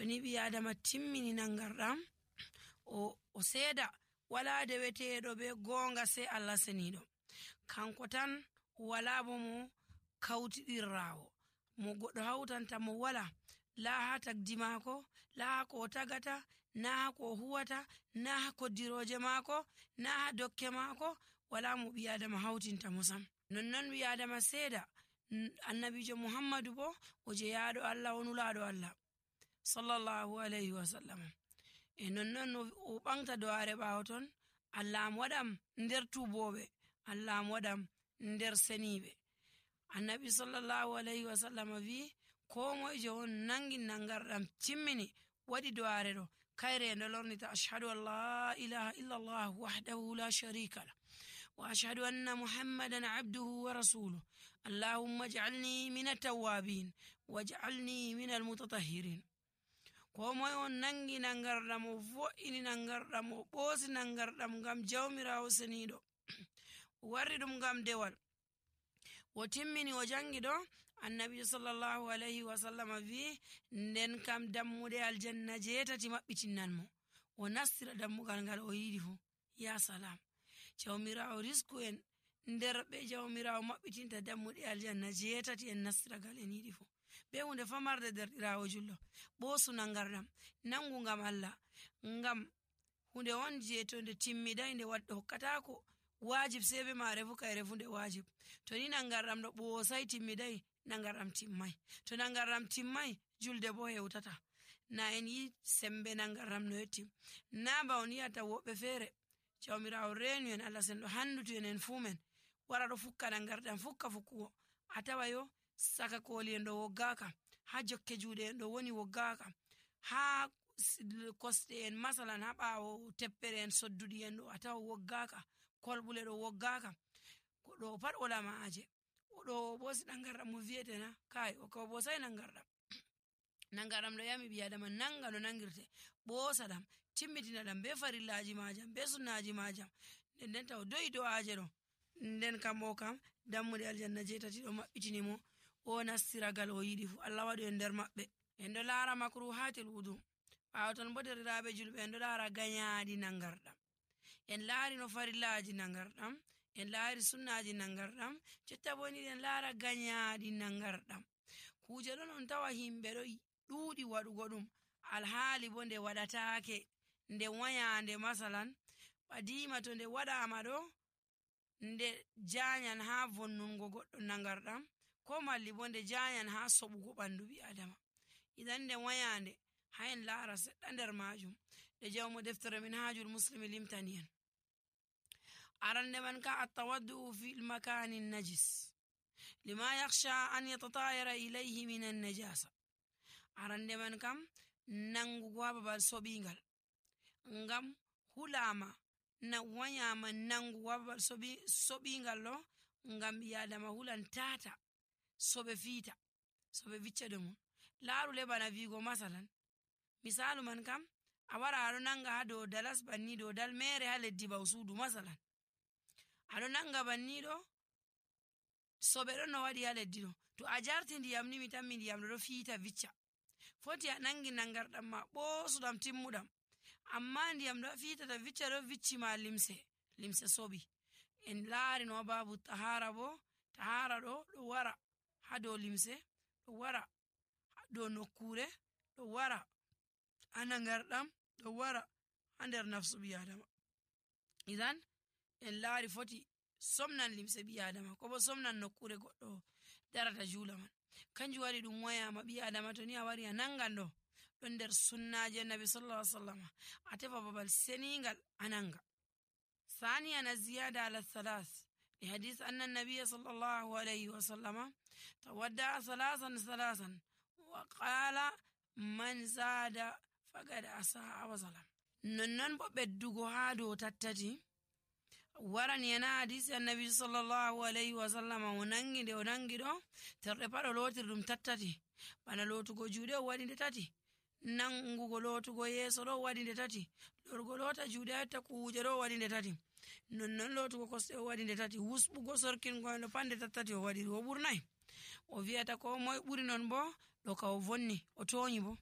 to ni ɓi adama timmini nangarɗam o seeda wala deweteɗo be gonga sai Allah seniɗo, kanko tan wala bo mo kautiɗirrawo, mo goɗɗo hautanta mo wala, la ha tagdi mako, la ha ko tagata, na ha ko huwata, na ha koddiroje mako, na ha dokke mako, wala mo ɓi adama hautinta mo sam. Nonnon ɓi adama seeda, annabijo Muhammadu bo o jeyaɗo Allah, o nulaɗo Allah sallallahu alaihi wasallam. Nonnon o ɓamta do'are ɓawo ton, Allah am waɗam nder tuboɓe, Allah am waɗam nder seniɓe. Annabi sallallahu alaihi wasallam wi ko moye on nangi nangarɗam timmini waɗi do'are ɗo, kayre endo lornita ashhadu an la ilaha illallah wahdahu la sharika lah wa ashhadu anna muhammadan abduhu wa rasuluhu allahumma ij'alni min at-tawwabin waj'alni min al-mutatahhirin. ko moye on nangi nangarɗam, o vo'ini nangarɗam, o ɓoosi nangarɗam ngam jawmirawo seniɗo, o warri ɗum ngam dewal, o timmini o jangi ɗo, annabi sallallahu alaihi wasallam wi nden kam dammuɗe aljanna 7 maɓɓitinnanmo, o nastira dammugal ngal o yiɗi fu. Ya salam, jawmirawo risku en nder ɓe jawmirawo maɓɓitinta dammuɗe aljanna 7 en nastiragal en yiɗi fu. Be hunde famarde derɗirawo jullo, ɓoosu nangarɗam, nangu ngam Allah, ngam hunde on je to nde timmidai nde hokkatako wajib sai be mare fu kayre fu nde wajib. To ni nangarɗam ɗo ɓoosai timmidai, nangarɗam timmai. To nangarɗam timmai, julde bo hewtata. Na en yi sembe nangarɗam no yetti, na ba on yiyata woɓɓe fere jawmirawo renu en, Allah senɗo handutu en fu men wara ɗo fukka nangarɗam, fukka fukkugo, a tawa yo saka koli en ɗo woggaka, ha jokke juuɗe en ɗo woni woggaka, ha kosɗe en masalan ha ɓawo teppere en sodduɗi en ɗo a tawa woggaka, kolɓule ɗo woggaka, ko ɗo pat o lamaaje, o ɗo ɓoosi nangarɗam mo viyete na kai o ko ɓoosai nangarɗam. Nangarɗam ɗo yami ɓi adama nanga no nangirte, ɓoosa ɗam, timmitina ɗam be farillaji majam be sunnaji majam, nden taw do'i do'aje ɗo, nden kam o kam dammuɗe aljanna 7 ɗo maɓɓitini mo, o nastiragal o yiɗi fu. Allah waɗu en nder maɓɓe. En ɗo laara makruhatil wudu, ɓawo ton bo derɗiraɓe julɓe en ɗo laara ganyaɗi nangarɗam, en laari no farillaji nangarɗam, en laari sunnaji nangarɗam, jotta bo ni en laara ganyaɗi nangarɗam. Kuje ɗon on tawa himɓe ɗo ɗuuɗi waɗugo ɗum, alhaali bo nde waɗatake, nde wayande masalan ɓadima to nde waɗama ɗo nde janyan ha vonnungo goɗɗo nangarɗam, ko malli bo nde janyan ha soɓugo ɓandu ɓi adama. Idan nde wayande ha en laara seɗɗa nder majum nde jawmo deftere min hajul muslimi limtani en. Arande man ka at-tawaddu fi al-makani najis lima yakhsha an yatatayara ilayhi min an-najasa. Arande man kam nangugo ha babal soɓingal, ngam hulama na wayama nangugo ha babal soɓingal ɗo, ngam ɓi adama hulan tata soɓe fiita, soɓe vicca ɗo mum. Laaru le bana vigo masalan, misalu man kam a wara aɗo nanga ha dow dalas banni, dow dal mere ha leddi ɓaw suudu masalan, aɗo nanga banni ɗo, soɓe ɗon no waɗi ha leddi ɗo, to a jarti ndiyam ni mi tammi ndiyam ɗo fiita vicca, foti a nangi nangarɗam ma ɓoosuɗam timmuɗam, amma ndiyam ɗo fiitata vicca ɗo viccima limse soɓi. En laari no babu tahara bo, tahara ɗo wara ha dow limse, ɗo wara dow nokkure, ɗo wara ha nangarɗam, ɗo wara ha nder nafsu ɓi adama. Idan en laari foti somnan limse ɓi adama, ko bo somnan nokkure goɗɗo darata juula man. Kanjum waɗi ɗum wayama ɓi adama to ni a wari a nangan ɗo, ɗon nder sunnaji annabi sallallahu alaihi wasallam, a tefa babal seningal a nanga. ثانيا الزيادة على الثلاث لحديث أن النبي صلى الله عليه وسلم تودع ثلاثا وقال من زاد فقد أساء وظلم. ننن بدوغو هادو تتتي warani yana hadisi annabi sallallahu alaihi wasallam onangi do terrepaɗo lotir ɗum tattati, bana lotugo juuɗe o waɗi nde tati, nangugo lotugo yeeso ɗo waɗi nde tati, lorgo lota juuɗe hatta kuuje ɗo waɗi nde tati, nonnon lotugo kosɗe o waɗi nde tati, wusɓugo sorkingo en ɗo pande tattati o waɗi o ɓurnai. O wiyata ko moye ɓuri non bo ɗo ka o vonni o toñi bo.